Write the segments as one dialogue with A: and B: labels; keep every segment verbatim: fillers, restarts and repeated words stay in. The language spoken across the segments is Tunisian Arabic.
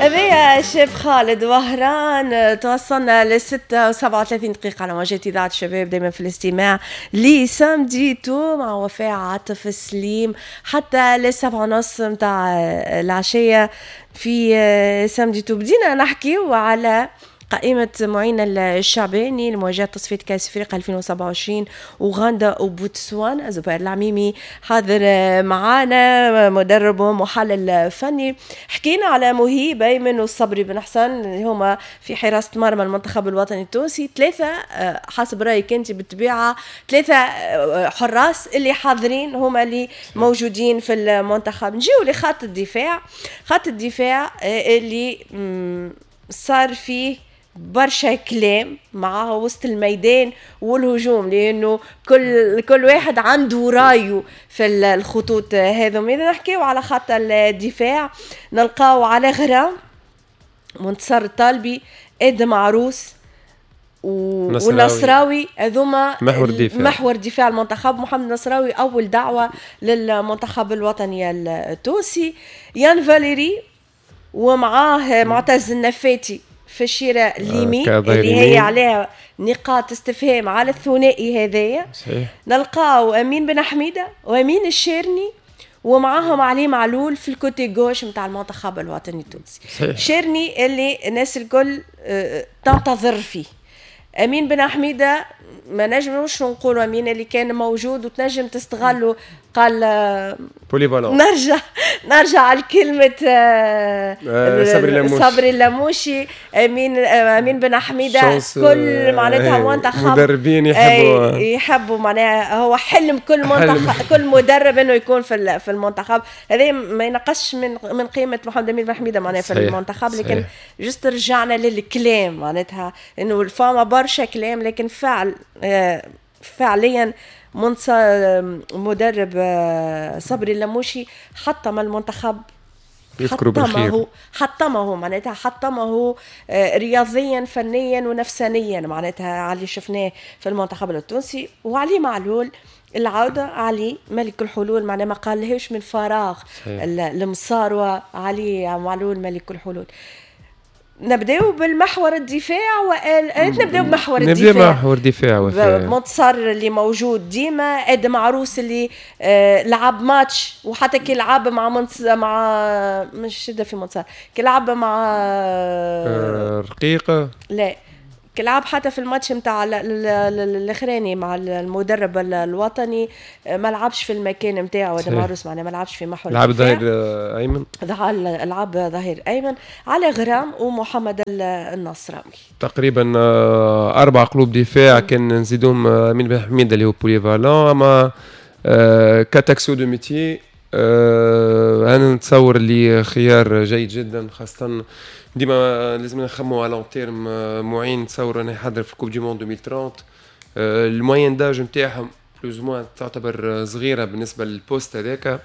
A: هذايا الشاب خالد وهران. توصلنا للستة وسبعة وثلاثين دقيقة على موجات إذاعة الشباب، دايما في الاستماع ل Samedi Tout مع وفاء عاطف سليم حتى للسبعة ونص متاع العشية في Samedi Tout. بدينا نحكيو على قائمة معين الشعباني لمواجهة تصفية كأس أفريقيا ألفين وسبعة وعشرين أوغندا وبوتسوانا. زبير العميمي حاضر معانا، مدرب ومحلل فني. حكينا على مهيب أيمن والصبري بن حسن اللي هما في حراسة مرمى المنتخب الوطني التونسي. ثلاثة حسب رأيك أنت بالطبيعة، ثلاثة حراس اللي حاضرين هما اللي موجودين في المنتخب. نجيو لخط الدفاع، خط الدفاع اللي صار فيه برشا كلام مع وسط الميدان والهجوم، لانه كل كل واحد عنده رايه في الخطوط هذم. اذا نحكيو على خط الدفاع نلقاو على غرام منتصر الطالبي، ادم عروس والنصراوي، هذوما
B: محور الدفاع،
A: محور دفاع المنتخب. محمد النصراوي اول دعوه للمنتخب الوطني التونسي. يان فاليري ومعاه معتز النفاتي في الشيرة اليمين اللي هي عليها نقاط استفهام على الثنائي هذايا. نلقاو امين بن حميده وامين الشيرني ومعاهم علي معلول في ال côté gauche نتاع المنتخب الوطني التونسي. شيرني اللي الناس الكل تنتظر فيه. امين بن حميده ما نجموش نقولوا امين اللي كان موجود وتنجم تستغله، قال
B: polyvalent.
A: نرجع نرجع على كلمة
B: آه صبري اللموشي،
A: صبري اللموشي. امين امين بن حميده كل معناتها منتخب
B: مدربين يحبوا
A: يحبوا معناها هو حلم كل منتخب كل مدرب انه يكون في في المنتخب. هذا ما ينقصش من من قيمة محمد امين بن حميده معناها في المنتخب، لكن juste رجعنا للكلام معناتها انه فما برشا كلام، لكن فعل فعليا مدرب صبري اللموشي حطم المنتخب، حطمه حطمه معناتها حطمه رياضيا فنيا ونفسانيا معناتها على اللي شفناه في المنتخب التونسي. وعلي معلول العودة، علي ملك الحلول معناها ما قالهاش من فراغ المصاروة، علي معلول ملك الحلول. نبداو بالمحور الدفاع وال... نبداو بمحور الدفاع،
B: نبداو بمحور الدفاع.
A: منتصر اللي موجود ديما، ادم عروس اللي آه لعب ماتش، وحتى كي لعب مع منتص... مع مش شده في منتصر، كي لعب مع
B: آه رقيقه،
A: لا كي لعب حتى في الماتش نتاع الاخراني مع المدرب الوطني ما لعبش في المكان نتاعو ادم عروس، معناها ما لعبش في محور
B: لعب ظهير ايمن،
A: لعب ظهير ايمن على غرام ومحمد النصراوي.
B: تقريبا اربع قلوب دفاع كان نزيدهم امين بن حميده اللي هو polyvalent، اما quatre axiaux de métier. انا نتصور اللي خيار جيد جدا، خاصة ديما لازم نخمو على long terme. معين نتصور انه يحضر في Coupe du monde ألفين وثلاثين، ال moyenne d'âge نتاعهم plus ou moins تعتبر صغيرة بالنسبة لل poste هذاك.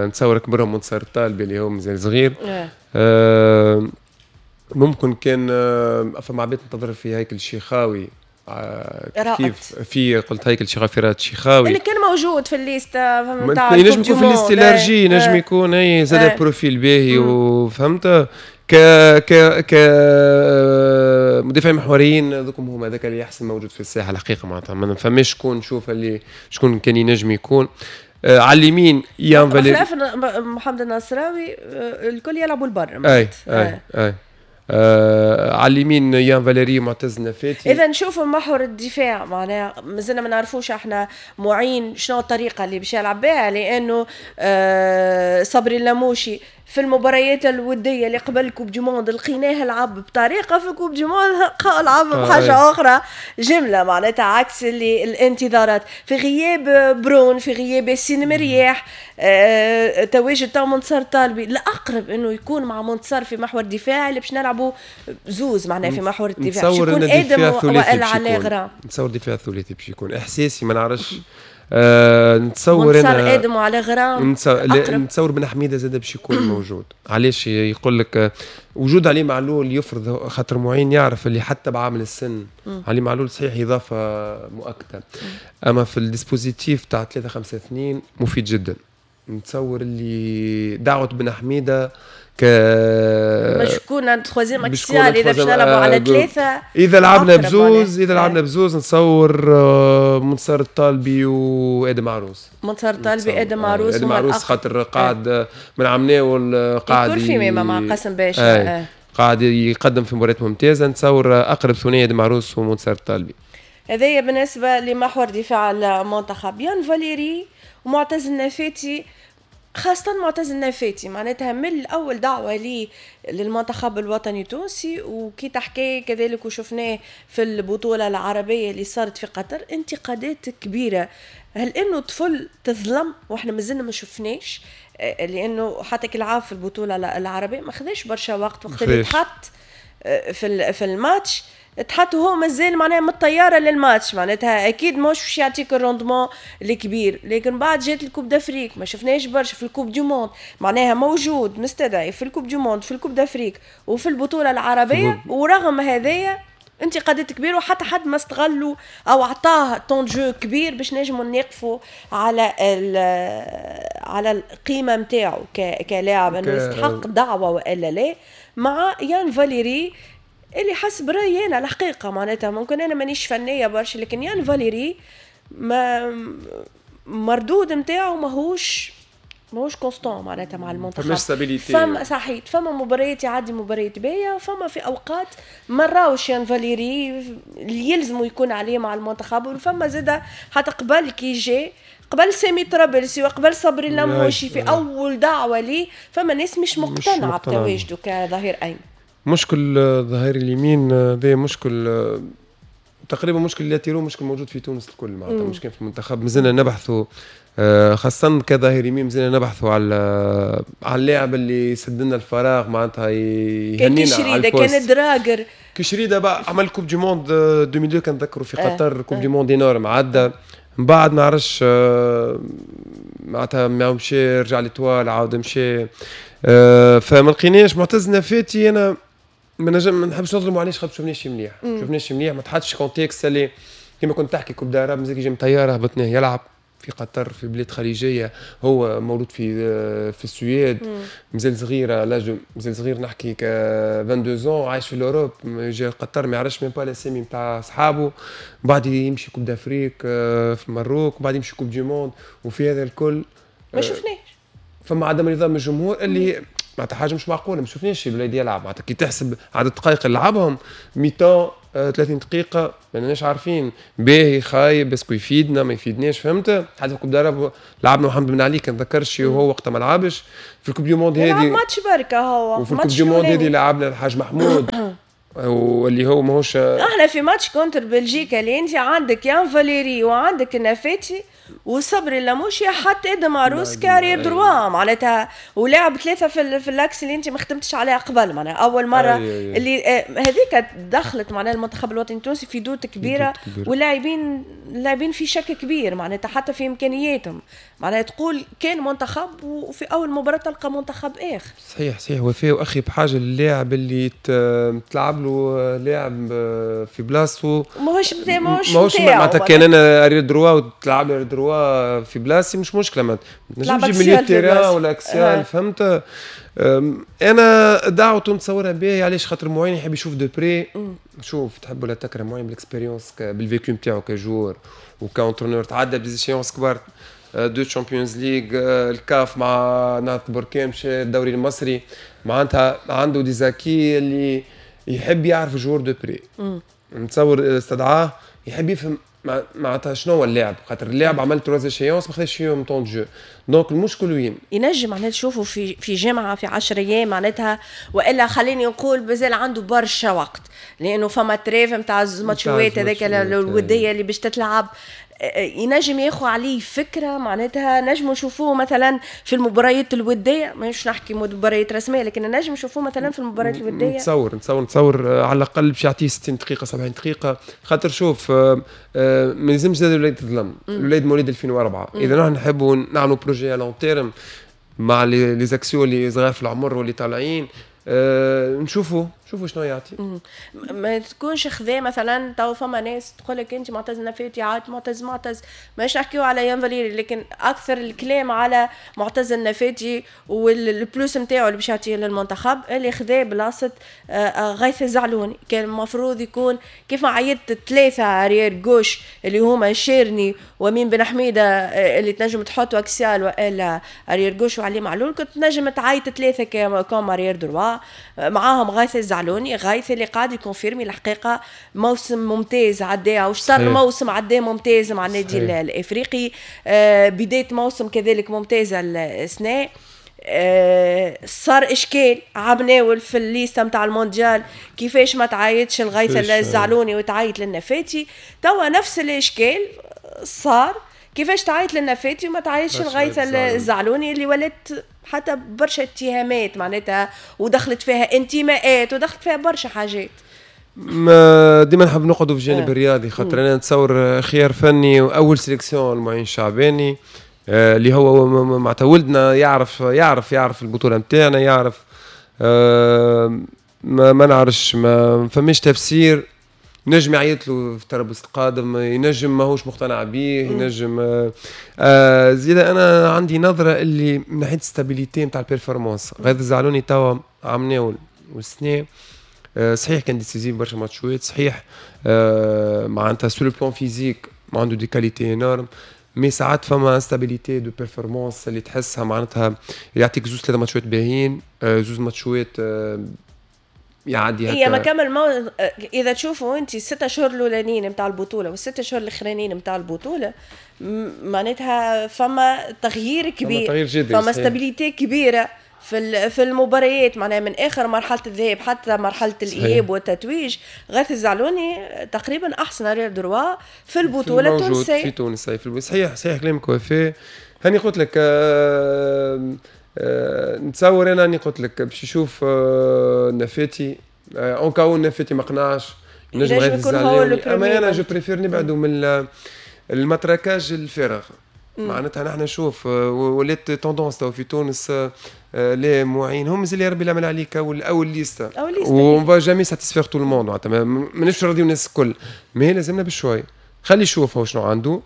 B: نتصور كبرهم منتصر الطالبي اللي هو مازال صغير. ممكن كان فما عباد تنتظر في هيكل الشيخاوي، كيف في قلت هيكل شيخاوي في راد شيخاوي
A: اللي كان موجود في ال liste نتاع،
B: ينجم يكون في ال liste élargie، ينجم يكون اي زاد profil باهي وفهمت ك ك ك مدافعين محوريين ذوكم هما هذاك اللي احسن موجود في الساحة الحقيقة، معناتها ما فماش شكون نشوف اللي شكون كان ينجم يكون. آه على اليمين يان فاليري،
A: بخلاف محمد النصراوي الكل يلعبوا البر.
B: اي اي اي آه على اليمين يان فاليري معتز النفاتي.
A: اذا نشوفوا محور الدفاع معناها مازلنا ما نعرفوش احنا معين شنو الطريقة اللي باش يلعب بها، لانه آه صبري اللموشي في المباريات الودية اللي قبل Coupe du Monde لقيناه لعب بطريقة، في Coupe du Monde لعب بحاجة آه اخرى جملة معناتها عكس اللي الانتظارات. في غياب برون، في غياب ياسين مرياح، آه تواجد تاع منتصر طالبي الاقرب انه يكون مع منتصر في محور الدفاع اللي باش نلعبوا زوز معناها في محور الدفاع، باش يكون ادم والا على غرام.
B: نتصور دفاع ثلاثي باش يكون احساسي، ما نعرفش. آه نتصور
A: انا ادم وعلى غرام،
B: نتصور بن حميده زاد باش يكون موجود. علاش يقول لك وجود علي معلول يفرض، خاطر معين يعرف اللي حتى بعامل السن مم. علي معلول صحيح اضافه مؤكدة، اما في ال dispositif تاع ثلاثة خمسة اثنين مفيد جدا. نتصور اللي دعوه بن حميده ك
A: باش يكون troisième axial اذا باش نلعبوا على ثلاثه.
B: اذا لعبنا بزوز، اذا لعبنا بزوز نتصور آه، منتصر الطالبي وادم عروس.
A: منتصر الطالبي، ادم عروس.
B: ادم عروس خاطر قاعد من عمناول قاعد
A: يكون في مع قاسم باشا.
B: قاعد يقدم في مباريات ممتازه. نتصور اقرب ثنائية ادم عروس ومنتصر الطالبي.
A: هذايا بالنسبة لمحور دفاع المنتخب. يان فاليري ومعتز النفاتي، خاصة معتز النفاتي معناتها من الأول دعوة لي للمنتخب الوطني التونسي، وكي تحكي كذلك وشفناه في البطولة العربية اللي صارت في قطر انتقادات كبيرة. هل انه طفل تظلم واحنا مازلنا ما شفناش؟ لانه حتى كي لعب في البطولة العربية ما خذاش برشا وقت، وقت اللي تحط في في الماتش تحط هو مازال معناها من الطيارة للماتش، معناتها اكيد ماهوش باش يعطيك ال rendement الكبير. لكن بعد جات ال Coupe d'Afrique ما شفناش برشا، في ال Coupe du monde معناها موجود مستدعي في ال Coupe du monde، في ال Coupe d'Afrique وفي البطولة العربيه، ورغم هذايا انتقادات كبيرة وحتى حد ما استغلوا او اعطاه temps de jeu كبير باش نجموا نقفوا على على القيمة نتاعو كلاعب انه يستحق دعوه والا لا. مع يان فاليري اللي حسب رايي انا الحقيقة معناتها ممكن انا مانيش فنية برشا، لكن يان فاليري ما مردود نتاعو ماهوش ماهوش constant معناتها مع المنتخب.
B: فماش stabilité.
A: فما صحيح فما مباريات يعدي مباريات باهيه، فما في اوقات ما راوش يان فاليري اللي يلزموا يكون عليه مع المنتخب. وفما زاده حتى قبل كي جا قبل سامي طرابلسي وقبل صبري اللموشي في اول دعوه ليه فما ناس مش مقتنعة بتواجده كظهير ايمن.
B: مشكل ظهير اليمين هذا مشكل تقريبا، مشكل latéraux مشكل موجود في تونس الكل معناتها، مش كان في المنتخب. مازلنا نبحثوا خاصة كظهير يمين، مازلنا نبحثوا على على اللاعب اللي يسد لنا الفراغ معناتها يهنينا
A: على ال poste. كان دراجر
B: كشريده بقى عمل Coupe du monde ألفين واثنين كان نذكروا في قطر، Coupe du monde énorme عدى. من بعد ما نعرفش معناتها مشى رجع l'Étoile عاود مشى، فما لقيناش معتز نفاتي. انا ما نجم ما نحبش نظلموا علاش خاطر شفناش مليح، شفناش مليح ما تحطش contexte اللي كيما كنت تحكي Coupe d'Arabe مازال يجي من طيارة هبطناه يلعب في قطر في بلاد خليجية، هو مولود في في السويد، مازال صغير l'âge مازال صغير نحكي ك اثنين وعشرين عايش في l'Europe، جا قطر ما يعرفش même pas الاسامي نتاع صحابه، بعد يمشي Coupe d'Afrique في المروك، بعد يمشي Coupe du monde، وفي هذا الكل
A: ما شفناش.
B: فما عدم رضا من الجمهور اللي معناتها حاجة مش معقولة، ما شفناش الولاد يلعب معناتها كي تحسب عدد الدقائق اللي لعبهم mi-temps ثلاثين دقيقة ماناش عارفين باهي خايب est-ce que يفيدنا ما يفيدناش، فهمت؟ حتى في Coupe d'Arabe لعبنا محمد بن علي كان ذكرش وهو وقتها ما لعبش في ال Coupe du monde هذه،
A: ماتش بركة هو
B: وفي ال Coupe du monde هذه لعبنا الحاج محمود واللي هو ماهوش.
A: احنا في match contre بلجيكا اللي انت عندك يان فاليري وعندك النفاتي وصبري اللموشي حتى ادم عروس ك arrière droit معناتها، ولعب ثلاثة في في l'axe اللي انت ما خدمتش عليها قبل معناها اول مرة أي اللي هذيك دخلت معناها المنتخب الوطني التونسي في doute كبيرة، واللاعبين اللاعبين في شك كبير معناتها حتى في امكانياتهم، معناها تقول كان منتخب وفي اول مباراة تلقى منتخب اخر.
B: صحيح صحيح وفاء واخي بحاجة للاعب اللي تلعب له لاعب في بلاصته
A: ماهوش ماهوش
B: معناتها كان انا arrière droit وتلعب لي droit في بلاصتي مش مشكلة، ما تنجمش تجيب milieu terrain ولا axial، فهمت؟ انا دعوته نتصورها باهي علاش خاطر معين يحب يشوف de près. شوف تحب ولا تكره معين بال expérience بال vécu نتاعو ك joueur وك entraîneur تعدى ب des échéances كبار، deux Champions League، الكاف مع نهضة بركان، مشى الدوري المصري، معناتها عنده des acquis اللي يحب يعرف joueur de près. نتصور استدعاه يحب يفهم معناتها شنو هو اللاعب، خاطر اللاعب عمل trois échéances ما خذاش فيهم temps de jeu، donc المشكل وين؟
A: ينجم معناتها تشوفوا في في جمعه في عشرة ايام معناتها، والا خليني نقول مازال عنده برشا وقت لانه فما trêve نتاع الماتشوات هذاك الودية اللي باش تتلعب، ينجم ياخذ عليه فكرة معناتها نجم نشوفوه مثلا في المباريات الودية، مش نحكي مباريات رسمية لكن نجم نشوفوه مثلا في المباريات الودية.
B: نتصور نتصور نتصور على الاقل باش يعطيه ستين دقيقة سبعين دقيقة، خاطر شوف ما يلزمش زاد الولاد تظلم، الولاد مواليد ألفين وأربعة، اذا نحن نحبوا نعملوا projet long terme مع les axiaux اللي صغار في العمر واللي طالعين، نشوفوا شوفوا شنو يعطي.
A: ما تكونش خذا مثلا تو فما ناس تقول لك انت معتز النفاتي عاد معتز معتز، ماش نحكيو على يان فاليري، لكن اكثر الكلام على معتز النفاتي وال plus نتاعو اللي باش يعطيه للمنتخب، اللي خذا بلاصة آه، آه، غيث الزعلوني. كان المفروض يكون كيف ما عيطت ثلاثة arrière gauche اللي هما شيرني ومين بن حميده، آه، اللي تنجم تحط axial والا arrière gauche وعلي معلول، كنت تنجم تعيط ثلاثة comme arrière droit معاهم غيث الزعلوني. غيث اللي قاعد ي confirmer الحقيقة موسم ممتاز عداه، وشطر موسم عداه ممتاز مع النادي الافريقي، آه بداية موسم كذلك ممتازة السنة. آه صار اشكال عمناول في ال liste نتاع المونديال كيفاش ما تعيطش الغيث الزعلوني وتعيط للنفاتي. توا نفس الاشكال صار، كيفاش تعيط للنفاتي وما تعيطش الغيث الزعلوني، اللي ولات حتى برشا اتهامات معناتها، ودخلت فيها انتماءات ودخلت فيها برشا حاجات.
B: ما ديما نحب نقعدوا في الجانب آه. الرياضي، خاطر انا نتصور خيار فني واول sélection المعين الشعباني، آه، اللي هو معناتها ولدنا، يعرف يعرف يعرف البطولة نتاعنا، يعرف. آه، ما, ما نعرفش، ما فماش تفسير. نجم يعيط له في تربص القادم، ينجم ماهوش مقتنع به، ينجم. آه آه زيد انا عندي نظره اللي من ناحية stabilité نتاع ال performance، غيث الزعلوني توا عمناول والسنة آه صحيح كان décisif برشا ماتشوات، صحيح آه معناتها sur le plan physique ما عنده des qualités énormes، mais ساعات فما instabilité de performance اللي تحسها، معناتها يعطيك زوز ثلاثة ماتشات باهيين، آه زوز ماتشات آه يعدي.
A: هي ما كمل مو... اذا تشوفوا انت الستة شهور الاولانيين نتاع البطولة والستة شهور الاخرانيين نتاع البطوله، معناتها فما تغيير كبير،
B: فما تغيير جذري،
A: فما stabilité كبيرة في في المباريات، معناها من اخر مرحلة الذهاب حتى مرحلة الاياب والتتويج، غيث الزعلوني تقريبا احسن arrière droit في البطولة التونسيه.
B: في تونس. صحيح صحيح كلامك وفاء. هاني قلت لك آه آه نتصور انا، هاني قلت لك باش يشوف آه نفاتي، en cas où نفاتي ما قنعش
A: نجم غيث الزعلوني.
B: اما انا je préfère نبعدوا من ال matraquage الفارغ. معناتها نحن نشوف آه، ولات tendance تو في تونس، آه، les معين هم مازال يا ربي العمل عليك اول اول liste،
A: اول liste
B: on va jamais satisfaire tout le monde، معناتها مانيش راضي الناس الكل، mais لازمنا بشوي خلي يشوف هو شنو عنده.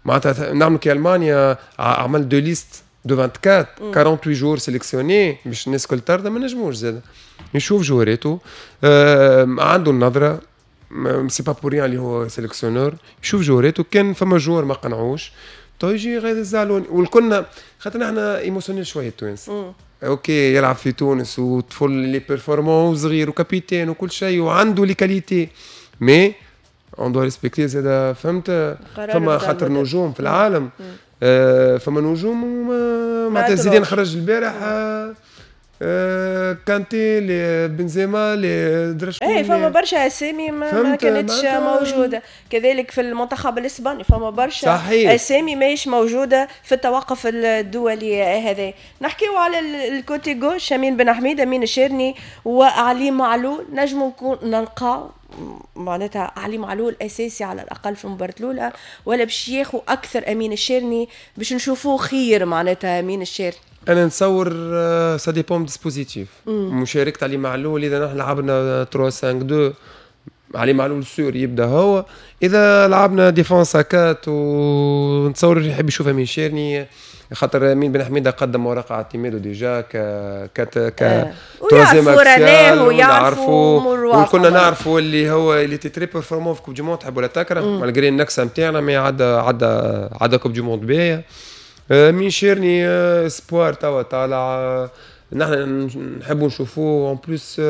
B: معناتها نعملوا كي المانيا، عمل deux listes de vingt-quatre، quarante-huit joueurs sélectionnés باش الناس الكل ترضى. ما نجموش زاد يشوف جواريتو، آه عنده النظره، c'est pas pour rien اللي هو sélectionneur. يشوف جواريتو، كان فما joueur ما قنعوش تو يجي غيث الزعلوني. والكلنا خاطر احنا émotionnels شوية التوانس، OK يلعب في تونس وطفل اللي performant وصغير و capitaine وكل شيء وعنده les qualités، mais on doit respecter زاد، فهمت؟ فما خاطر نجوم في العالم، آه فما نجوم، معناتها زيدان خرج البارح، آه آه كانتي، لي بنزيما، لي درا.
A: ايه فما برشا اسامي ما, ما كانتش موجوده. كذلك في المنتخب الاسباني فما برشا
B: صحيح.
A: اسامي ماهيش موجودة في التوقف الدولي هذا. نحكيو على ال côté gauche، امين بن حميد، امين الشيرني وعلي معلول، نجمو نكون نلقاو معناتها علي معلول اساسي على الاقل في المباراة الاولى، ولا باش ياخو اكثر امين الشيرني باش نشوفوه خير معناتها امين الشيرني؟
B: انا نتصور ça dépend dispositif مشاركة علي معلول. اذا نحن لعبنا ثلاثة خمسة اثنين، علي معلول sûr يبدا هو. اذا لعبنا défense à quatre، ونتصور يحب يشوف امين شيرني، خاطر امين بن حميده قدم ورقة اعتماده déjà ك ك ك
A: troisième axial، ويعرفوا.
B: وكنا نعرفوا اللي هو il était très performant في Coupe du Monde، تحب ولا تكره، malgré النكسه نتاعنا، mais عدى عدى عدى Coupe du Monde باهيه. امين شيرني espoir توا طالع، نحن نحبوا نشوفوه. en plus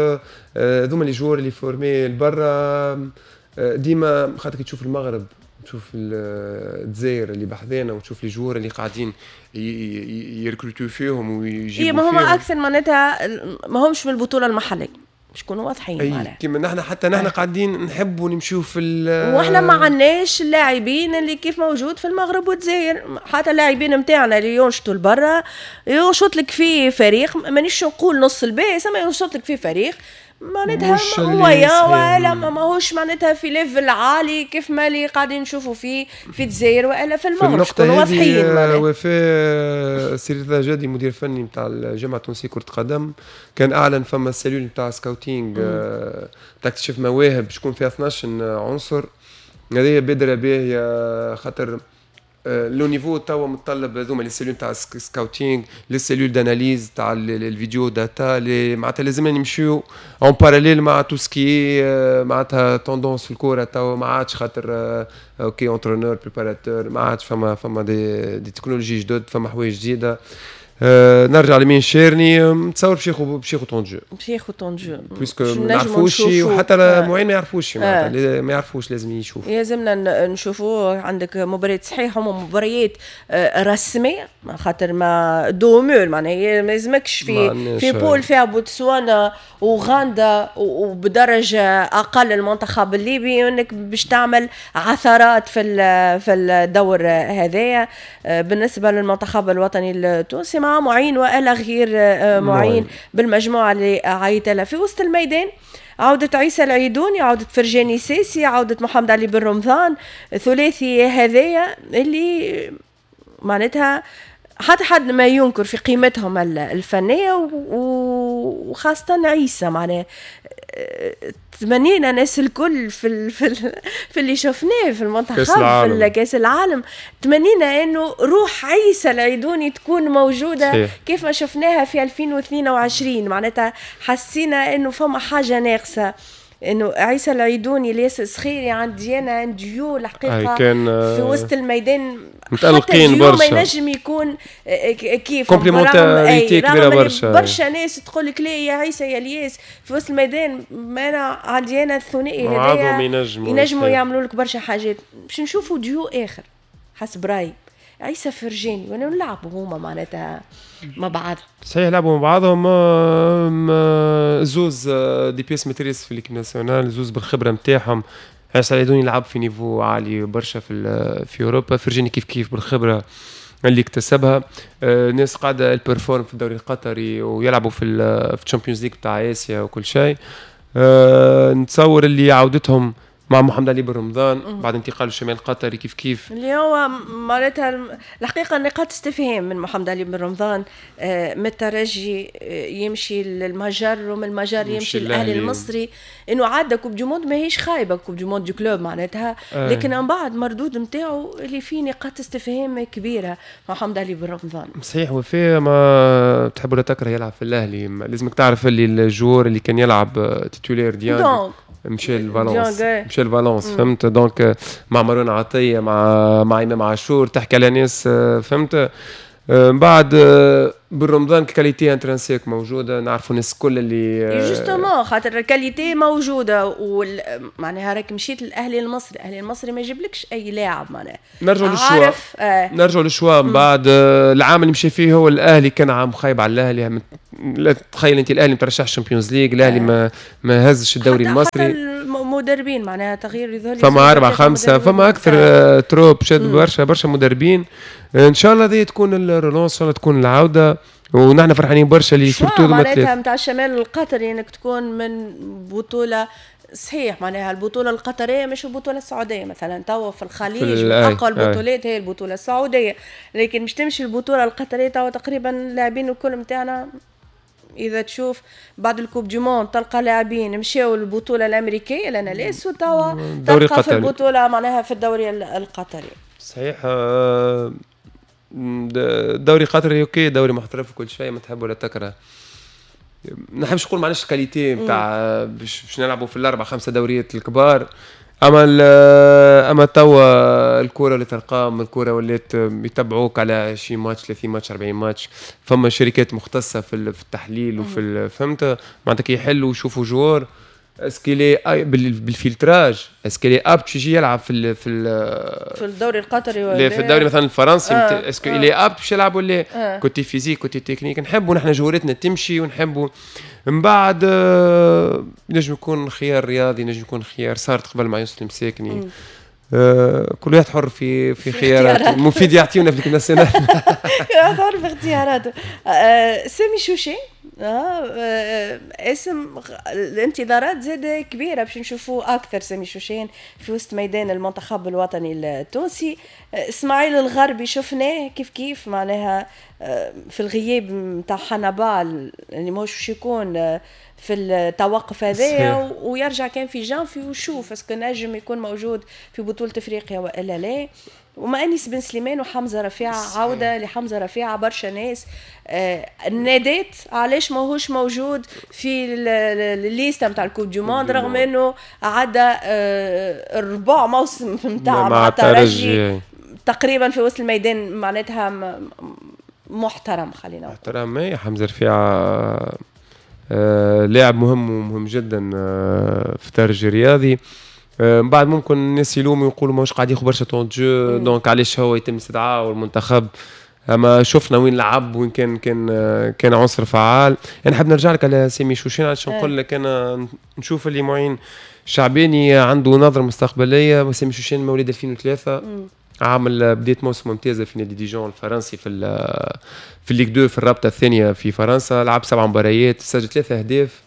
B: هذوما les joueurs اللي formés لبرا ديما، خاطر تشوف المغرب، تشوف الجزائر اللي بحذانا، وتشوف les joueurs اللي قاعدين يركروتو فيهم ويجيبوا.
A: إيه ما هما اكثر معناتها ما همش من البطولة المحليه، باش نكونوا واضحين.
B: معناها كيما نحن، حتى نحن قاعدين نحبوا نمشيو في
A: واحنا ما عندناش اللاعبين اللي كيف موجود في المغرب والجزائر. حتى اللاعبين نتاعنا اللي ينشطوا لبرا ينشط لك في فريق، مانيش نقول نص الباس، اما ينشط لك في فريق. معناتها moyen ولا ماهوش معناتها في level عالي كيف ما اللي قاعدين نشوفوا فيه في الجزائر والا في المغرب.
B: في واضحين. وفاء، سي رضا جادي مدير فني نتاع الجامعة التونسية كره قدم كان اعلن فما cellule نتاع scouting تاع اكتشاف مواهب شكون فيها اثناش عنصر. هذه بادره باهيه خاطر le niveau توا متطلب هذوما les cellules تاع scouting، les cellules d'analyse تاع ال vidéo data، معناتها لازمنا نمشيو en parallèle مع tout ce qui معناتها tendance في الكورة توا. ما عادش خاطر OK entraîneur préparateur، ما عادش فما فما des, des technologies جدد، فما حوايج جديده. آه نرجع لمين شيرني، نتصور باش ياخذ باش ياخذ temps de jeu.
A: باش ياخذ temps de jeu.
B: puisque ما نعرفوش وحتى المعين ما يعرفوش، آه. ما يعرفوش، لازم يشوف.
A: لازمنا نشوفوا. عندك مباريات صحيح هما مباريات آه، رسميه، خاطر ما dos au mur، معناها ما يلزمكش في في poule فيها بوتسوانا وغاندا وبدرجه اقل المنتخب الليبي انك باش تعمل عثرات في في الدور هذايا. آه، بالنسبة للمنتخب الوطني التونسي مع معين والا غير آه، معين بالمجموعة اللي عيط لها في وسط الميدان، عودة عيسى العيدوني، عودة فرجاني ساسي، عودة محمد علي بن رمضان، ثلاثي هذايا اللي معناتها حتى حد ما ينكر في قيمتهم الفنية، وخاصة عيسى. معناها تمنينا ناس الكل في ال في, ال في اللي شفناه في المنتخب في كاس العالم، تمنينا انه روح عيسى العيدوني تكون موجودة صحيح. كيف ما شفناها في ألفين واثنين وعشرين، معناتها حسينا انه فما حاجة ناقصه، انه عيسى العيدوني الياس السخيري عندي انا un duo الحقيقة
B: كان
A: في وسط الميدان.
B: متألقين برشا.
A: ما ينجم يكون آه، كيف
B: complémentarité كبيرة برشا.
A: برشا ناس تقول لك لا يا عيسى يا الياس في وسط الميدان، ما انا عندي انا الثنائي
B: هذايا ينجموا
A: ينجموا يعملوا لك برشا حاجات. باش نشوفوا ديو اخر حسب رايي عيسى فرجاني وانا نلعبوا هما معناتها مع بعض.
B: صحيح، لعبوا مع بعضهم زوز des pièces maîtresses في l'équipe nationale، زوز بالخبرة نتاعهم. عيسى العيدوني يلعب في niveau عالي برشا في في اوروبا، فرجاني كيف كيف بالخبرة اللي اكتسبها. آه، ناس قاعدة performent في الدوري القطري ويلعبوا في في ال Champions League بتاع اسيا وكل شيء. آه، نتصور اللي عودتهم مع محمد علي بن رمضان بعد انتقاله الشمال القطري كيف كيف.
A: اللي هو معناتها الحقيقة نقاط استفهام من محمد علي بن رمضان، آه، من الترجي آه، يمشي للمجر ومن المجر يمشي للاهلي المصري، انه عدى coupe du monde ماهيش خايبه، coupe du monde des clubs معناتها آه. لكن من بعد مردود نتاعو اللي فيه نقاط استفهام كبيرة محمد علي بن رمضان.
B: صحيح، وفي ما تحب ولا تكره يلعب في الاهلي، لازمك تعرف اللي ال joueur اللي كان يلعب titulaire ديانج مشى لفالونس، مشى لفالونس، فهمت؟ donc مع مروان عطيه، مع مع امام عاشور، تحكي على ناس، فهمت؟ من بعد بن رمضان qualité intrinsèque موجوده، نعرفوا الناس الكل اللي
A: justement خاطر ال qualité موجوده، وال... معناها راك مشيت للاهلي المصري، الاهلي المصري ما يجيبلكش اي لاعب معناها.
B: نرجعوا لل choix آه. نرجعوا لل choix من بعد العام اللي مشى فيه هو الاهلي كان عام خايب على الاهلي. لا تخيل انت الاهلي ما ترشحش Champions League، الاهلي آه. ما ما هزش الدوري
A: حتى
B: المصري.
A: حتى المدربين معناها تغيير
B: يظهر فما اربعة خمسه، فما اكثر آه. trop شاد برشا برشا مدربين. ان شاء الله هذه تكون ال relance، ان شاء الله تكون العوده، ونحن فرحانين برشا اللي
A: surtout معناتها نتاع الشمال القطري انك تكون من بطوله، صحيح معناها البطولة القطرية مش البطولة السعودية مثلا، توا في الخليج من اقوى البطولات هي البطولة السعوديه، لكن مش تمشي البطولة القطريه. توا تقريبا اللاعبين الكل نتاعنا اذا تشوف بعد ال coupe du monde تلقى لاعبين مشاو البطولة الامريكية لنا ليس، وتوا تلقى في البطولة معناها في الدوري القطري.
B: صحيح، آه، الدوري القطري OK دوري محترف وكل شيء، ما تحب ولا تكره، ما نحبش نقول معناش qualité نتاع باش باش نلعبوا في الاربع خمسة دوريات الكبار، اما اما توا الكره اللي تلقاهم الكره ولات يتبعوك على عشرين ماتش، ثلاثين ماتش، أربعين ماتش، فما شركات مختصة في في التحليل وفي، فهمت؟ معناتها كي يحلوا ويشوفوا joueur est-ce qu'il est بال filtrage، est-ce qu'il est apte يجي يلعب في ال في
A: ال في الدوري القطري
B: ولا في الدوري مثلا الفرنسي آه. est-ce qu'il est apte باش يلعب ولا آه. côté physique، côté technique. نحبوا نحن جوارتنا تمشي ونحبوا من بعد آه نجم يكون خيار رياضي، نجم يكون خيار صارت قبل مع يوسف المساكني. آه كل واحد حر في في خياراته، مفيد يعطيونا في l'équipe nationale.
A: حر في اختياراته. آه سامي شوشي. آه اسم الانتظارات زاد كبيرة باش نشوفوه اكثر سامي شوشان في وسط ميدان المنتخب الوطني التونسي. اسماعيل الغربي شفناه كيف كيف معناها آه، في الغياب نتاع حنبال اللي ماهوش باش يكون آه، في التوقف هذايا ويرجع كان في جانفي وشوف est-ce que نجم يكون موجود في بطوله افريقيا والا لا. وما انيس بن سليمان وحمزة رفيعة، عوده لحمزة رفيعة، برشا ناس آه ناديت علاش ماهوش موجود في ال liste نتاع ال coupe du monde رغم انه عدى آه الربع موسم نتاع مع الترجي تقريبا في وسط الميدان، معناتها محترم، خلينا
B: محترم. حمزة رفيعة آه لاعب مهم ومهم جدا آه في الترجي الرياضي. آه، من بعد ممكن الناس يلوموا يقولوا ماهوش قاعد ياخذ برشا temps de jeu، donc علاش هو يتم استدعاءه والمنتخب، اما شفنا وين لعب وين كان كان كان عنصر فعال. انا نحب نرجع لك على سامي شوشين عشان نقول لك انا نشوف اللي معين شعباني عنده نظره مستقبليه. سامي شوشين مواليد ألفين وثلاثة، عامل بداية موسم ممتازة في نادي ديجون الفرنسي في في ال Ligue deux، في الرابطة الثانية في فرنسا. لعب سبع مباريات، سجل ثلاثة اهداف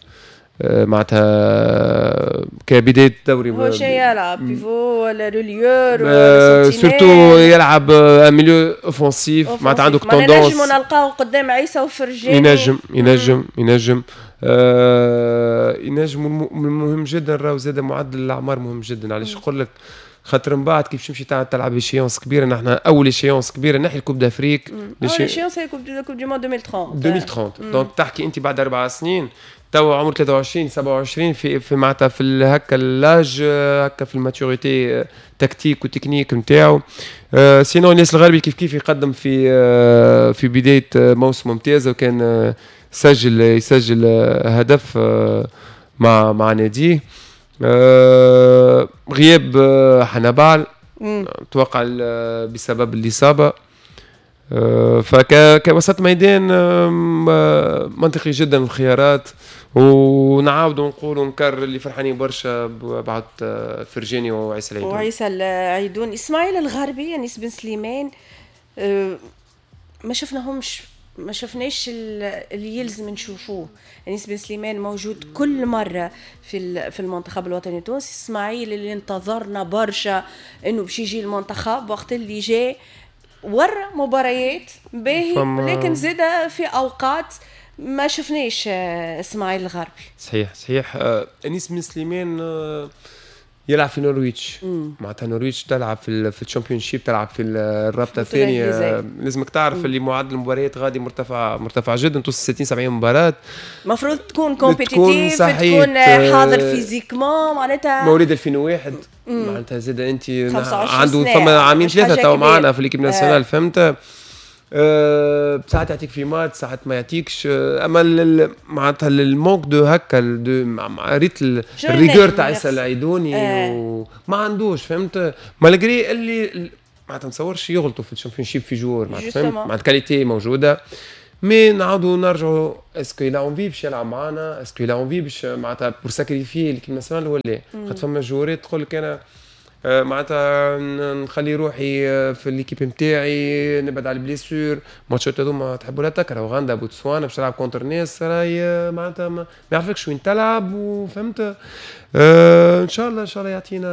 B: آه، معناتها كبداية الدوري.
A: هو شيء يلعب pivot ولا relayeur؟
B: ولا surtout يلعب milieu offensif، معناتها عنده
A: tendance. نجموا نلقاو قدام عيسى وفرجاني.
B: ينجم ينجم ينجم آه ينجم. المهم جدا راهو زاد معدل الاعمار مهم جدا. علاش نقول لك؟ خاطر من بعد كيف تمشي تلعب échéance كبيره، نحن اول échéance كبيرة نحي ال coupe d'Afrique.
A: اول échéance هي coupe du monde ألفين وثلاثين.
B: ألفين وثلاثين، donc تحكي انت بعد اربع سنين، توا عمر ثلاثة وعشرين سبعة وعشرين، في في معناتها في هكا l'âge هكا في ال maturité tactique و technique نتاعو. آه sinon الناس الغربي كيف كيف يقدم في آه في بداية موسم ممتازة وكان آه سجل يسجل هدف آه مع مع ناديه. آه غياب آه حنبال اتوقع بسبب الاصابه. آه، فكوسط ميدان منطقي جدا الخيارات، ونعاودوا نقولوا نكرر اللي فرحانين برشا بعد آه، فرجاني وعيسى العيدوني.
A: وعيسى العيدوني، اسماعيل الغربي، انيس بن سليمان، آه، ما شفناهمش، ما شفناش اللي يلزم نشوفوه. انيس بن سليمان موجود كل مرة في في المنتخب الوطني التونسي. اسماعيل اللي انتظرنا برشا انه باش يجي المنتخب، وقت اللي جاء ورا مباريات باهي، لكن زاد في اوقات ما شفناش آه، اسماعيل الغربي.
B: صحيح صحيح آه، انيس بن سليمان آه، يلعب في نورويتش، معناتها نورويتش تلعب في في ال Championship، تلعب في الرابطة الثانيه. لازمك تعرف اللي معدل المباريات غادي مرتفع مرتفع جدا، توصل ستين سبعين مباراه.
A: المفروض تكون compétitif، تكون, تكون حاضر physiquement معناتها.
B: مواليد ألفين وواحد، معناتها زاد انت عنده ثم عامين ثلاثة تو معنا في l'équipe nationale، فهمت؟ أه ساعات يعطيك في ماتش، ساعات ما يعطيكش. أه اما معناتها ال manque de هكا de ريت ال rigueur تاع عيسى العيدوني آه. وما عندوش، فهمت؟ malgré اللي معناتها ما نتصورش يغلطوا في ال Championship في joueur، معناتها فهمت، معناتها qualité موجوده، mais نعاودوا نرجعوا est-ce qu'il a envie باش يلعب معنا، est-ce qu'il a envie باش معناتها pour sacrifier l'équipe nationale ولا لا؟ خاطر فما جوارات تقول لك انا آه، معناتها نخلي روحي آه، في l'équipe نتاعي، نبعد على ال blessures. ماتشات هذوما تحب ولا تكره، اوغندا، بوتسوانا، باش تلعب contre ناس راهي آه، معناتها ما يعرفكش وين تلعب، وفهمت؟ آه ان شاء الله، ان شاء الله يعطينا،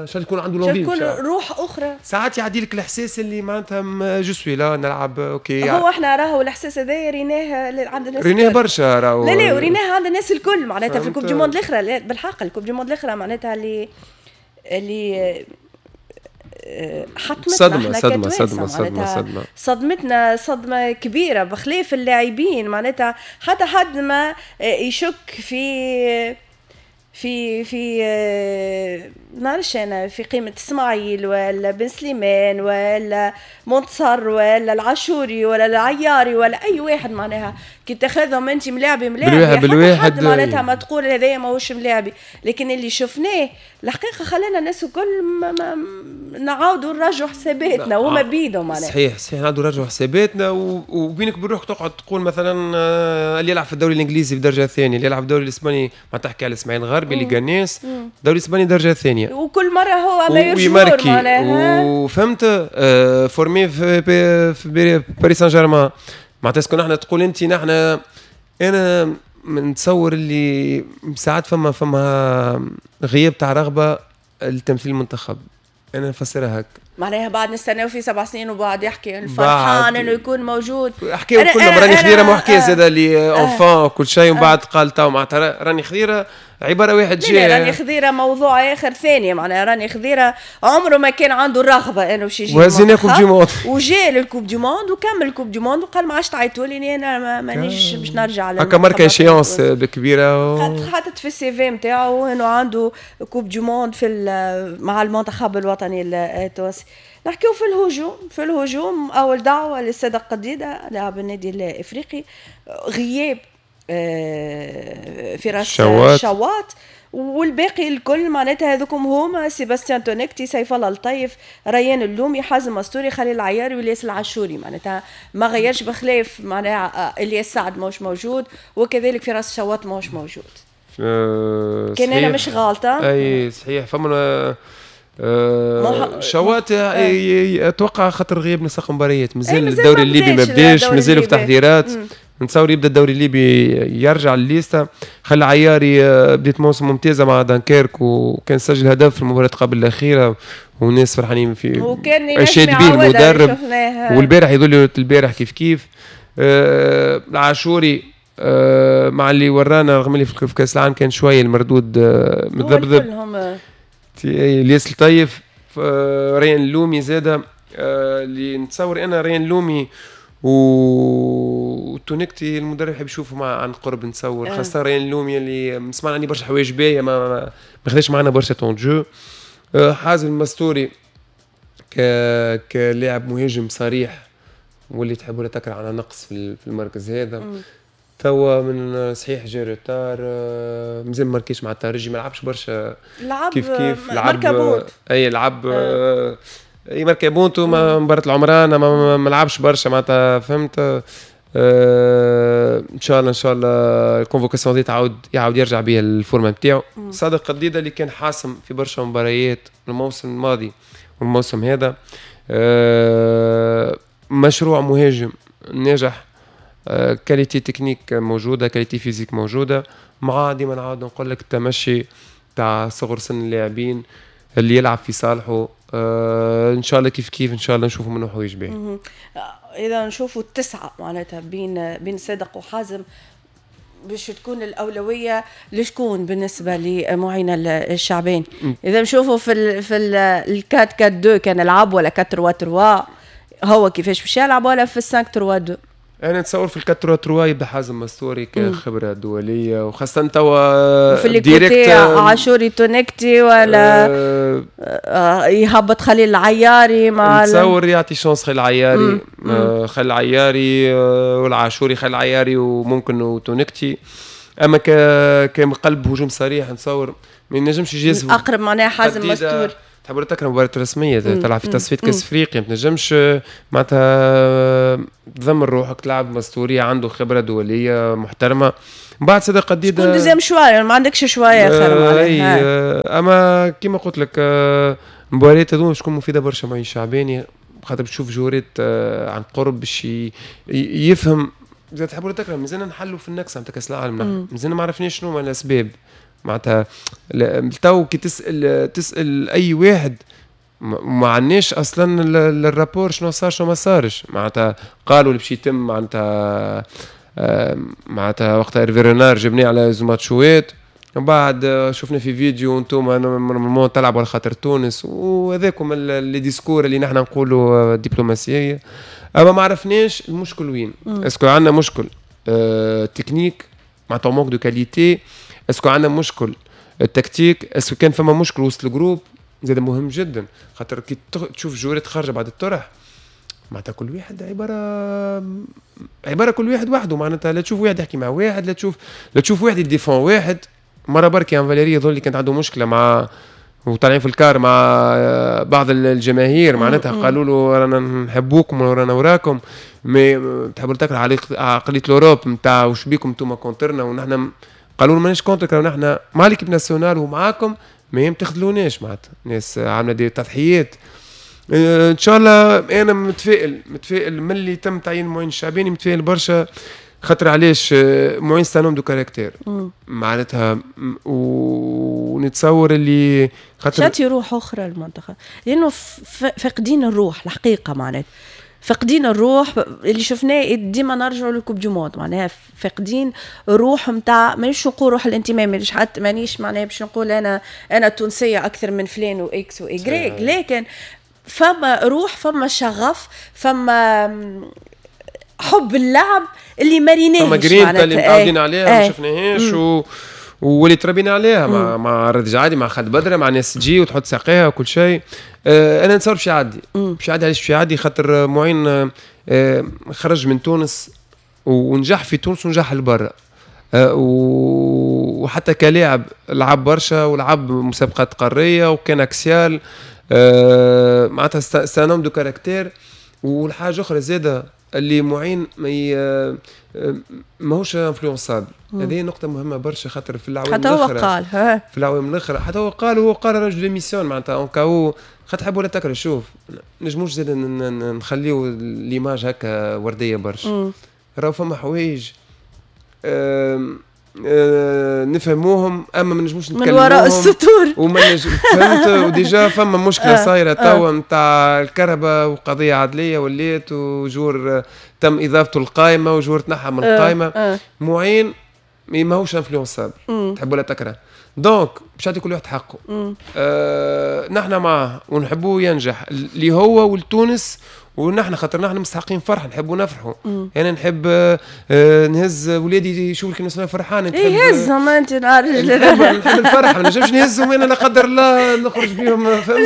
B: ان شاء الله يكون عنده
A: l'envie، يكون روح اخرى.
B: ساعات يعدي لك الاحساس اللي معناتها je suis là نلعب، OK.
A: هو احنا راهو الاحساس هذا ريناه عند الناس.
B: ريناه برشا راهو.
A: لا لا، وريناه عند الناس الكل معناتها في ال coupe du monde الاخرى. بالحق ال coupe du monde الاخرى معناتها اللي اللي آه، حطمتنا.
B: صدمة صدمة صدمة صدمة صدمة.
A: صدمتنا صدمة كبيرة بخلاف اللاعبين، معناتها حتى حد ما يشك في في في آه، نعرفش انا في قيمة اسماعيل ولا بن سليمان ولا منتصر ولا العاشوري ولا العياري ولا اي واحد. معناها كي تاخذهم انت ملاعبي ملاعبي
B: بالواحد بالواحد
A: معناتها ما تقول هذايا ماهوش ملاعبي، لكن اللي شفناه الحقيقة خلانا الناس الكل نعاودوا نراجعوا حساباتنا وهما آه. بيدهم معناها.
B: صحيح صحيح، نعاودوا نراجعوا حساباتنا، وبينك وبين روحك تقعد تقول مثلا آه، اللي يلعب في الدوري الانجليزي في الدرجة الثانيه، اللي يلعب في الدوري الاسباني، ما تحكي على اسماعيل الغربي اللي قناص الدوري الاسباني درجه ثانيه.
A: وكل مرة هو meilleur
B: joueur معناها، وفهمت؟ آه formé في, في باريس سان جيرمان. معناتها est-ce que نحن تقول انت نحن انا نتصور اللي ساعات فما فما غياب تاع رغبة لتمثيل المنتخب، انا نفسرها هكا.
A: معناها بعد نستناو في سبع سنين وبعد يحكي الفرحان انه يكون موجود.
B: حكاو كلهم راني خضيره، ما حكى زاد اللي enfin كل شيء، ومن بعد قال تو معناتها راني خضيره عبارة واحد
A: جاي. راني خضيره موضوع اخر ثاني، معناها راني خضيره عمره ما كان عنده الرغبة انه باش يجي
B: وهزينا coupe du monde
A: وجا لل coupe du monde وكمل ال coupe du monde وقال ما عادش تعيطوا لي انا مانيش باش نرجع.
B: هكا marque échéance كبيرة
A: و... حاطط في ال CV نتاعو انه عنده coupe du monde في مع المنتخب الوطني التونسي. نحكيو في الهجوم، في الهجوم اول دعوه للصادق قديده لاعب النادي الافريقي، غياب فراس شوات, شوات والباقي الكل معناتها هذوكم هما سيباستيان تونكتي، سيف الله الطيف، ريان اللومي، حازم مستوري، خليل العياري، والياس العاشوري. معناتها ما غيرش بخلاف معناها الياس سعد ماهوش موجود وكذلك فراس شوات ماهوش موجود. أه كان انا مش غالطه.
B: اي صحيح فما أه شوات اتوقع خاطر غياب نسق مباريات، مازال الدوري الليبي ما بداش، مازالوا في تحضيرات. نتصور يبدا الدوري الليبي يرجع لليستا. خلي عياري بديت موسم ممتازة مع دانكيرك وكان سجل هدف في المباراة قبل الاخيرة والناس فرحانين في
A: وكان
B: اشاد به المدرب. والبارح يظل البارح كيف كيف أه العاشوري أه مع اللي ورانا رغم اللي في كاس العالم كان شوية المردود أه متذبذب. الياس الطيف، ريان اللومي زاده اللي نتصور انا ريان اللومي وتونكتي المدرب يحب يشوفه مع عن قرب نتصور، خاصة ريان اللومي اللي سمعنا عليه برشا حوايج باهيه ما ما خذاش معنا برشا temps de jeu. حازم المستوري ك كلاعب مهاجم صريح واللي تحب ولا تكره على نقص في المركز هذا. توا من صحيح جا retard مازال ما ماركيش مع الترجي، ما لعبش برشا
A: لعب كيف كيف لعب
B: اي لعب آه. اي ماركا بونتو مباراة العمران ما, ما لعبش برشا معناتها فهمت. آه ان شاء الله ان شاء الله ال convocation دي تعاود يعاود يرجع بها ال forme نتاعو. صادق قديده اللي كان حاسم في برشا مباريات الموسم الماضي والموسم هذا، آه مشروع مهاجم ناجح، qualité technique موجودة، qualité physique موجودة، مع ديما نعاود نقول لك التمشي تاع صغر سن اللاعبين اللي يلعب في صالحه. آه ان شاء الله كيف كيف ان شاء الله نشوفوا منه حوايج باهيه.
A: اذا نشوفوا التسعة معناتها بين بين صادق وحازم باش تكون الاولوية لشكون بالنسبة لمعين الشعبين؟ اذا نشوفوا في ال في ال quatre quatre deux كان لعب ولا quatre trois trois، هو كيفاش باش يلعب، ولا في cinq trois deux؟
B: انا نتصور في ال quatre trois يبدا حازم مستوري كخبرة دولية، وخاصة توا
A: في direct عاشوري تونكتي ولا آه آه يهبط خليل العياري مع
B: نتصور يعطي chance خليل العياري، آه خليل العياري آه والعاشوري، خليل العياري وممكن تونكتي. اما ك كقلب هجوم صريح نتصور ما ينجمش يجازف
A: اقرب معناها حازم مستوري.
B: تحب تكره مباراة رسمية تلعب في تصفية كأس افريقيا، ما تنجمش معناتها تذمر روحك، تلعب مستوري عنده خبرة دولية محترمة. من بعد صدق قديدة
A: شكون deuxième choix، ما عندكش choix اخر
B: معناها. اما كيما قلت لك المباريات هذوما باش تكون مفيدة برشا معين الشعباني، خاطر تشوف جورات عن قرب باش يفهم. إذا تحبوا تكره مازلنا نحلوا في النكسة نتاع كأس العالم، مازلنا ما عرفناش شنو هما الأسباب معناتها. تو كي تسال تسال اي واحد ما عندناش اصلا ال rapport شنو صار شنو ما صارش معناتها. قالوا اللي باش يتم معناتها معناتها وقتها إيرفي رينار جبناه على زوج ماتشوات، من بعد شفنا في فيديو انتم normalement تلعبوا على خاطر تونس، وهذاكم les discours اللي نحن نقولوا دبلوماسية. اما ما عرفناش المشكل وين، est-ce que عندنا مشكل اه تكنيك معناتها manque de qualité، est-ce que عندنا مشكل التكتيك، est-ce que كان فما مشكل وسط ال groupe زاد مهم جدا، خاطر كي تشوف جورات خارجه بعد الطرح معناتها كل واحد عبارة عبارة كل واحد وحده معناتها، لا تشوف واحد يحكي مع واحد، لا تشوف لا تشوف واحد ي défend واحد. مرة برك يان فاليري يظل كانت عنده مشكلة مع وطالعين في ال car مع بعض الجماهير معناتها قالوا له رانا نحبوكم ورانا وراكم، mais تحبوا تكره عقلية l'Europe نتاع وش بيكم انتم contre نا، ونحن قالوا ماناش contre، نحن مع l'équipe nationale ومعاكم، ما تخذلوناش معناتها ناس عامله des تضحيات. ان شاء الله انا متفائل متفائل من اللي تم تعيين معين الشعباني، متفائل برشا، خاطر علاش معين c'est un homme de caractère معناتها، ونتصور اللي
A: خاطر شاتي روح اخرى للمنتخب، لانه فاقدين الروح الحقيقة، معناتها فاقدين الروح اللي شفناه ديما نرجعوا لل coupe du monde، معناها فاقدين الروح نتاع، مانيش نقول روح الانتماء، مانيش حتى مانيش معناها باش نقول انا انا تونسية اكثر من فلان و X و Y، لكن فما روح، فما شغف، فما حب اللعب اللي ما ريناهش،
B: فما جرينتا اللي متعودين عليها ما شفناهاش و... واللي تربينا عليها مع مع رضا جعادي، مع خالد بدره، مع ناس تجي وتحط ساقيها وكل شيء. آه انا نتصور باش يعدي، باش يعدي. علاش باش يعدي؟ خاطر معين آه خرج من تونس ونجح في تونس ونجح لبرا، آه وحتى كلاعب لعب برشا ولعب مسابقات قارية وكان axial، آه معناتها c'est un homme de caractère. والحاجة اخرى زاده اللي معين ما ماهوش influençable، هذه نقطة مهمة برشا خاطر في العوام
A: حتى هو قال
B: في العوام الاخرى حتى هو قال، هو قال رجل démissionne معناتها en cas où خاطر تحب ولا تكره. شوف نجموش زاد نخليو l'image هكا وردية برشا، راهو فما حوايج آه نفهموهم اما ما نجموش نتكلموهم
A: من وراء السطور
B: وما نجم فهمت. و déjà فما مشكلة آه صايرة توا نتاع الكهرباء وقضية عدليه ولات، و joueur تم اضافته القائمة و joueur تنحى من القائمة. آه. معين ماهوش influençable تحب ولا تكره، donc باش يعطي كل واحد حقه. آه نحن معاه ونحبوه ينجح اللي هو ولتونس، ونحن خاطر نحن مستحقين فرح، نحبوا نفرحوا. انا نحب آه نهز ولادي يشوفوا l'équipe nationale فرحانة.
A: اي هزهم انت نهار
B: نحب, نحب الفرح، ما نجمش نهزهم انا لا قدر الله نخرج بهم.
A: فهمت؟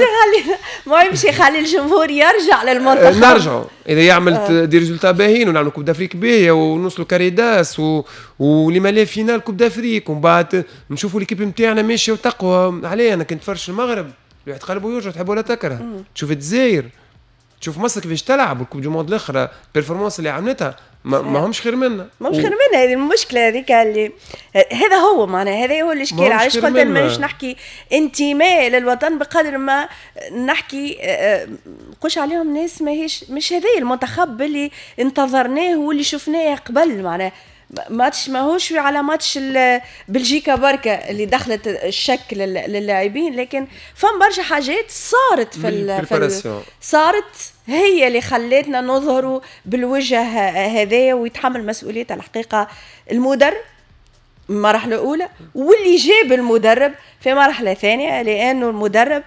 A: ما يمشي يخلي الجمهور يرجع للمنتخب.
B: نرجعوا اذا يعمل آه. des résultats باهيين ونعملوا coupe d'Afrique باهيه ونوصلوا carré d'as و... ولما لا finale coupe d'Afrique، ومن بعد نشوفوا l'équipe نتاعنا ماشية وتقوى. عليه انا كنت فرش المغرب الواحد قلبه يوجع، تحب ولا تكره. تشوف الجزائر، تشوف مصر كيفاش تلعب وال coupe du monde الاخرى ال performance اللي عملتها ما, ما همش خير منا،
A: ما همش خير منا. هذه المشكلة هذيك اللي هذا هو معناها هذا هو الاشكال. علاش قلت مانيش نحكي انتماء للوطن بقدر ما نحكي نقولش عليهم ناس ماهيش مش هذا المنتخب اللي انتظرناه واللي شفناه قبل. معناها ماتش ماهوش على ماتش بلجيكا بركة اللي دخلت الشك للاعبين، لكن فما برشا حاجات صارت في, ال في ال صارت هي اللي خلتنا نظهروا بالوجه هذايا، ويتحمل مسؤولية الحقيقة المدرب مرحلة أولى واللي جاب المدرب في مرحلة ثانية، لأنه المدرب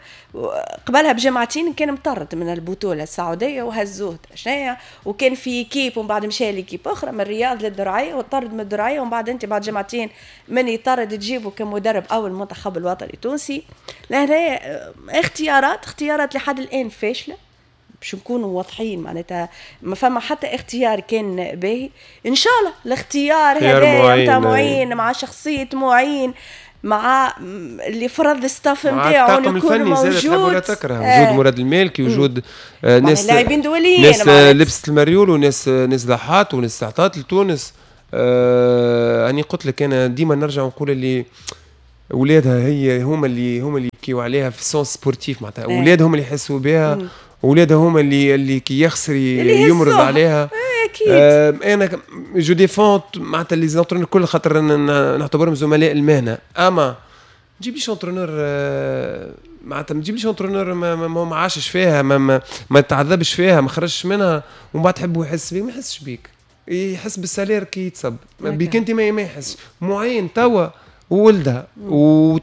A: قبلها بجمعتين كان مطرد من البطولة السعودية وهزوه شنيا، وكان في équipe ومن بعد مشى l'équipe أخرى من الرياض للدرعية وطرد من الدرعية، ومن بعد أنت بعد جمعتين من يطرد تجيبه كمدرب أول المنتخب الوطني التونسي. لهنا اختيارات اختيارات لحد الآن فاشلة باش نكونوا واضحين، معناتها ما فما حتى اختيار كان باهي. ان شاء الله الاختيار هذا نتاع معين مع شخصية معين مع اللي فرض ال staff نتاعو يكون موجود،
B: ولا تكره وجود آه. مراد المالكي، وجود آه ناس
A: لاعبين دوليين،
B: ناس لبست المريول وناس ناس ضحات وناس عطات لتونس. آه اني قلت لك انا ديما نرجع ونقول اللي اولادها هي هما اللي هما اللي يبكيو عليها في ال sens sportif، معناتها اولادهم اللي يحسوا بها، اولادها هما اللي اللي كي يخسر يمرض عليها.
A: اكيد.
B: آه انا je défends معناتها les entraîneurs الكل خاطر نعتبرهم زملاء المهنة، اما تجيبليش entraîneur آه معناتها ما تجيبليش entraîneur ما, ما, ما عاشش فيها، ما, ما, ما تعذبش فيها، ما خرجش منها، ومن بعد تحبه يحس بيك، ما يحسش بيك، يحس بال salaire كي يتصب بيك انت ما, ما يحسش. معين توا وولدها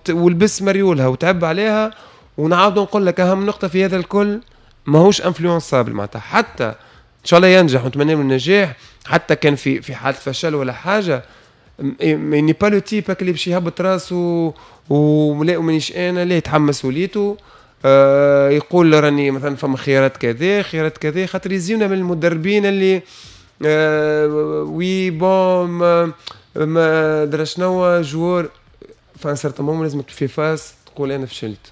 B: ولبس مريولها وتعب عليها. ونعاود نقول لك اهم نقطة في هذا الكل ماهوش influençable، معناتها حتى ان شاء الله ينجح ونتمنى له النجاح، حتى كان في في حاله فشل ولا حاجة mais n'est pas le type اللي باش يهبط راسه ولا ومانيش انا، لا يتحمل مسؤوليته. آه يقول راني مثلا فما خيارات كذا خيارات كذا، خاطر يزيونا من المدربين اللي آه oui bon ما, ما درا شنو joueur ف un certain moment لازم في face تقول انا فشلت.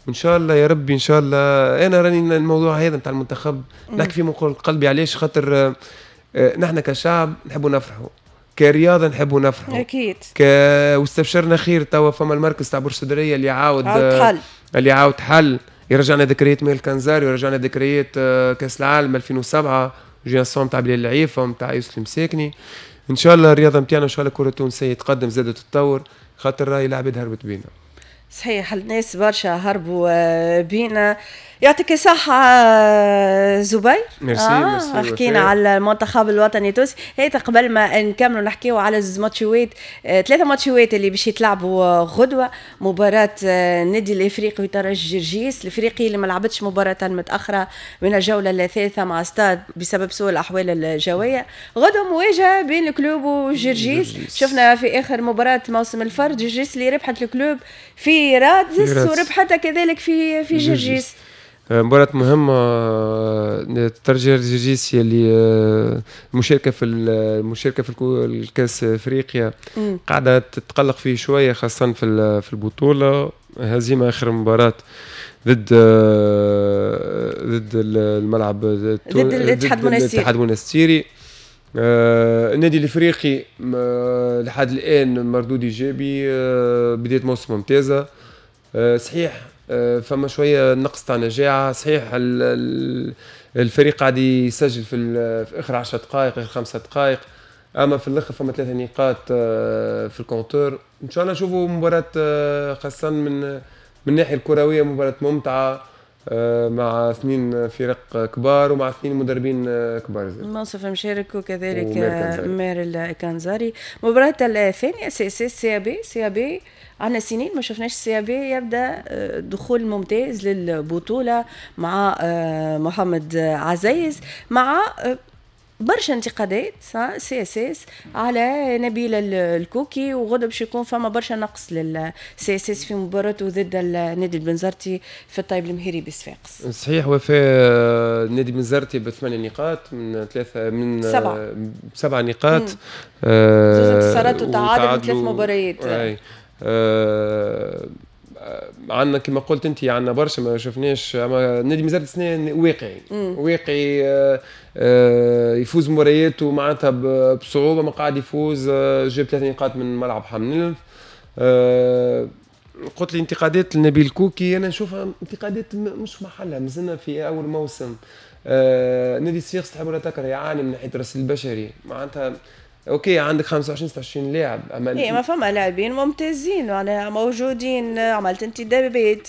B: وان شاء الله يا ربي ان شاء الله انا راني الموضوع هذا نتاع المنتخب نحكي فيه من قلبي. علاش؟ خاطر آه، نحن كشعب نحبوا نفرحوا، كرياضه نحبوا نفرحوا
A: اكيد،
B: ك واستبشرنا خير. توا فما المركز تاع برج السدريه اللي عاود
A: عاود حل،
B: اللي عاود حل يرجعنا ذكريات ميل كنزاري، ويرجعنا ذكريات آه، كاس العالم ألفين وسبعة génération تاع بلال العيفه ونتاع يوسف المساكني. ان شاء الله الرياضة نتاعنا، ان شاء الله الكره التونسية تقدم زادت تتطور، خاطر راهي العباد هربت بينا.
A: صحيح، الناس برشا هربوا آه، بينا. يعطيك الصحة آه، زبير.
B: ميرسي.
A: آه
B: ميرسي.
A: حكينا على المنتخب الوطني التونسي. هيك قبل ما نكملوا نحكيو على زوز ماتشوات، آه، ثلاثة ماتشوات اللي باش يتلعبوا غدوة: مباراة النادي الافريقي وترجي جرجيس، الافريقي اللي ما لعبتش مباراة متأخرة من الجولة الثالثة مع ستاد بسبب سوء الأحوال الجوية. غدوة مواجهة بين ال Club وجرجيس. شفنا في آخر مباراة موسم الفرد جرجيس اللي ربحت ال Club في رادس وربحتها كذلك في في جرجيس.
B: آه، مباراة مهمة، آه، ترجي جرجيس اللي آه، المشاركة في المشاركة في الكأس افريقيا قاعدة تتقلق فيه شوية، خاصة في في البطولة. هزيمة آخر مباراة ضد ضد الملعب
A: ضد الاتحاد المونستيري.
B: الاتحاد المونستيري. النادي الافريقي لحد الان مردود ايجابي، بداية موسم ممتازه. صحيح آه، فما شوية نقص تاع نجاعه، صحيح الفريق قاعد يسجل في, في اخر عشر دقائق، اخر خمسة دقائق، اما في الاخر فما ثلاثة نقاط آه، في ال compteur. ان شاء الله نشوفوا مباراة آه، خاصة من من الناحية الكروية مباراة ممتعة مع اثنين فرق كبار ومع اثنين مدربين كبار.
A: منصف مشارك وكذلك ماهر الكنزاري. مباراة الثانية سي اس اس سي بي. سي بي عندنا سنين ما شفناش CAB يبدا آه، دخول ممتاز للبطولة مع آه، محمد عزيز، مع آه، برشا انتقادات CSS على نبيل الكوكي، وغدا باش يكون فما برشا نقص لل CSS في مباراته ضد النادي البنزرتي في الطيب المهيري بصفاقس.
B: صحيح وفاء، النادي البنزرتي بثمانية نقاط من ثلاثة من
A: سبعة.
B: سبعة نقاط،
A: زوز انتصارات وتعادل ثلاث مباريات.
B: آه عندنا كما قلت انت عندنا برشا ما شفناش، اما النادي مازال السنة واقعي واقعي آه آه يفوز مبارياته معناتها بصعوبه، ما قاعد يفوز. آه جاب ثلاث نقاط من ملعب حمام الأنف. آه قلت لي انتقادات لنبيل كوكي، انا نشوفها انتقادات مش في محلها، مازلنا في اول موسم. آه نادي الصفاقس تحب ولا تكره يعاني من ناحية الرصيد البشري، معناتها OK عندك خمسة وعشرين ستة وعشرين لاعب.
A: اما ايه ما فما لاعبين ممتازين معناها موجودين، عملت انتدابات،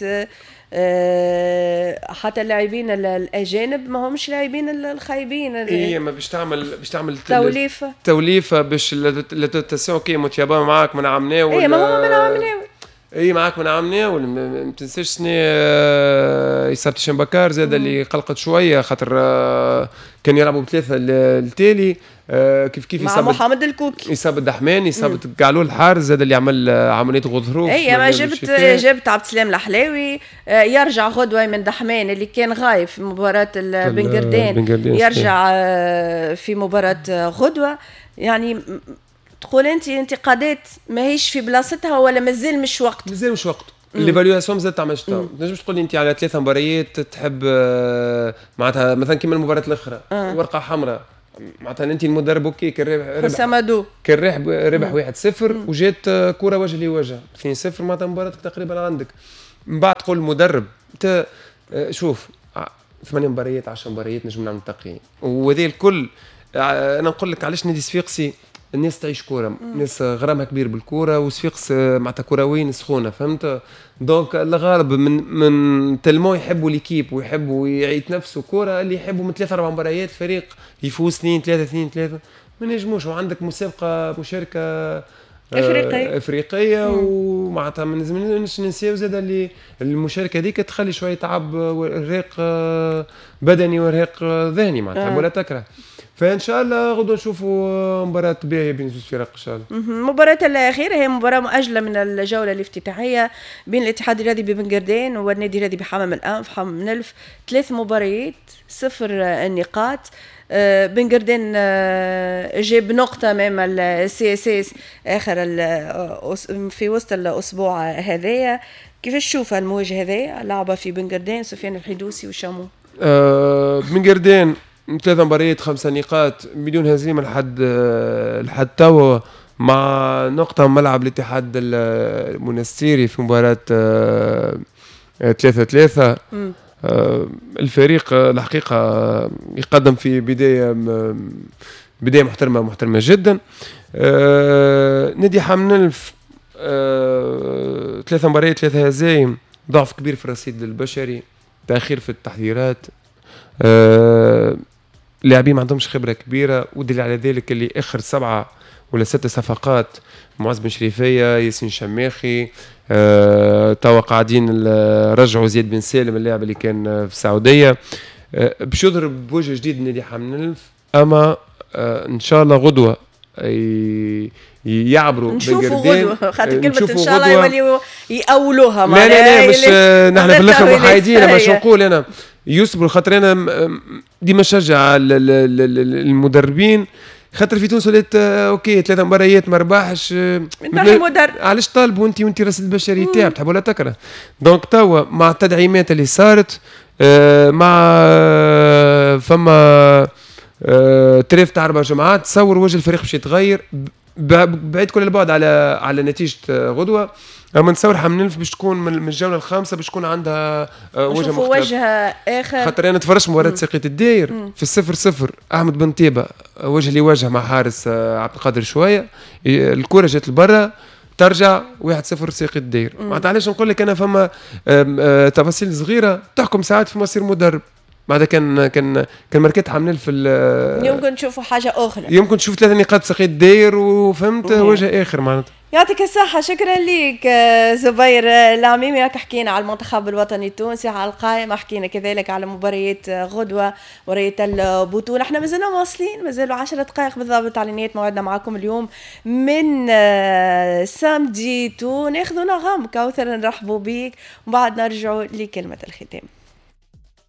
A: آه، حتى اللاعبين الاجانب ما همش لاعبين الخايبين.
B: اي ما باش تعمل باش تعمل
A: توليفه.
B: توليفة باش la rotation. OK موتيابا معاك من عام
A: اي ما هو من عام.
B: اي معاك من عام، ما تنساش سنة آه، إصابة شمبكار زاد اللي قلقت شويه، خاطر آه، كان يلعبوا بثلاثة التالي. آه، كيف كيف
A: مع محمد الكوكي.
B: إصابة دحمان، إصابة قعلول الحارس زاد اللي عمل عملية غضروف.
A: اي ما جبت جبت عبد السلام الحلاوي، يرجع غدوة من دحمان اللي كان غايب في مباراة بن يرجع في مباراة غدوة. يعني تقول انت انتقادات ماهيش في بلاصتها ولا مازال مش وقت؟
B: مازال مش وقت، l'évaluation مازال تعملش. ما تنجمش تقول لي انت على ثلاثة مباريات تحب آه، معناتها مثلا كيما المباراة الاخرى أه. ورقة حمراء، معناتها انت المدرب OK كان ربح.
A: حسام.
B: كان ربح ربح واحد صفر وجات كره وجه لوجه اثنين صفر، معناتها مباراتك تقريبا عندك. من بعد تقول المدرب انت آه، شوف ثمانية مباريات، عشرة مباريات نجم نعمل تقييم. وهذا الكل آه، انا نقول لك علاش نادي صفاقسي الناس تعيش كوره، الناس غرامها كبير بالكوره، وصفاقس معناتها كرويين سخونه، فهمت؟ donc الغالب من من tellement يحبوا l'équipe ويحبوا يتنفسوا كوره، اللي يحبوا من ثلاثة اربع مباريات فريق يفوز اثنين ثلاثة اثنين ثلاثة ما نجموش. وعندك مسابقة مشاركة
A: افريقيه.
B: افريقيه، ومعناتها ما نلزمناش ننساو زاد اللي المشاركة هذيك تخلي شوية تعب وارهاق آه، بدني وارهاق ذهني معناتها آه. ولا تكره. فان شاء الله غدوه نشوفوا مباراة باهيه بين زوج فرق ان شاء الله.
A: المباراة الاخيرة هي مباراة مؤجلة من الجولة الافتتاحيه بين الاتحاد الرياضي ببن قردان والنادي الرياضي بحمام الانف. حمام الانف ثلاث مباريات صفر النقاط. آه، بن قردان آه، جاب نقطة أمام ال CSS آخر في وسط الأسبوع هذايا. كيفاش تشوف المواجهة هذايا لعبة في بن قردان، سفيان الحيدوسي وشامو؟
B: أه بن قردان ثلاث مباريات خمسة نقاط بدون هزيمة لحد لحد توا، مع نقطة ملعب الاتحاد المنستيري في مباراة ثلاثة ثلاثة. آه، الفريق الحقيقة يقدم في بداية بداية محترمه، محترمه جدا. آه نادي حمام الأنف آه ثلاثة مباريات ثلاثة هزايم، ضعف كبير في الرصيد البشري، تاخير في التحضيرات، آه لاعبين ما عندهمش خبره كبيره، ودليل على ذلك اللي اخر سبعة ولا ست صفقات معز بن شريفيه، ياسين شماخي، آه، توا قاعدين رجعوا زياد بن سالم اللاعب اللي كان في السعوديه، آه، باش يظهر بوجه جديد نادي حمام الأنف. اما آه، ان شاء الله غدوه يعبروا.
A: نشوفوا غدوه، خاطر كلمة ان شاء الله يوليوا يأولوها.
B: لا لا لا، مش نحن في الاخر محايدين، اما شو نقول انا يصبروا، خاطر انا ديما نشجع المدربين، خاطر في تونس ولات آه، OK ثلاثة مباريات ما ربحش.
A: مدرب.
B: علاش طالبوا انت وانت راس البشري تاعك تحب ولا تكره؟ donc توا مع التدعيمات اللي صارت آه، مع آه، فما trêve تاع اربع جمعات، تصور وجه الفريق باش يتغير بعيد كل البعد على على نتيجة غدوه. اما نتصور حمام الأنف باش تكون من الجولة الخامسة باش تكون عندها
A: آه، وجه مختلف، وجه اخر.
B: خاطر انا تفرجت مباراة ساقية الداير في الصفر صفر، احمد بن طيبة وجه لوجه مع حارس آه، عبد القادر شويه، الكره جات لبرا، ترجع واحد صفر ساقية الداير. معناتها علاش نقول لك انا فما آه، تفاصيل صغيرة تحكم ساعات في مصير مدرب. بعد كان كان كان ماركت حمام الأنف
A: في يمكن نشوفوا حاجة اخرى.
B: يمكن تشوف ثلاثة نقاط ساقية الداير وفهمت وجه اخر معناتها.
A: يعطيك الصحة، شكرا لك زبير العميمي. حكينا على المنتخب الوطني التونسي، على القائمة، حكينا كذلك على مباريات غدوة، مباريات البطولة. احنا مازلنا واصلين، مازالوا عشرة دقائق بالضبط على نهاية موعدنا معكم اليوم من samedi tout. ناخذ نغم كوثر، نرحبوا بيك وبعد نرجعوا لكلمة الختام.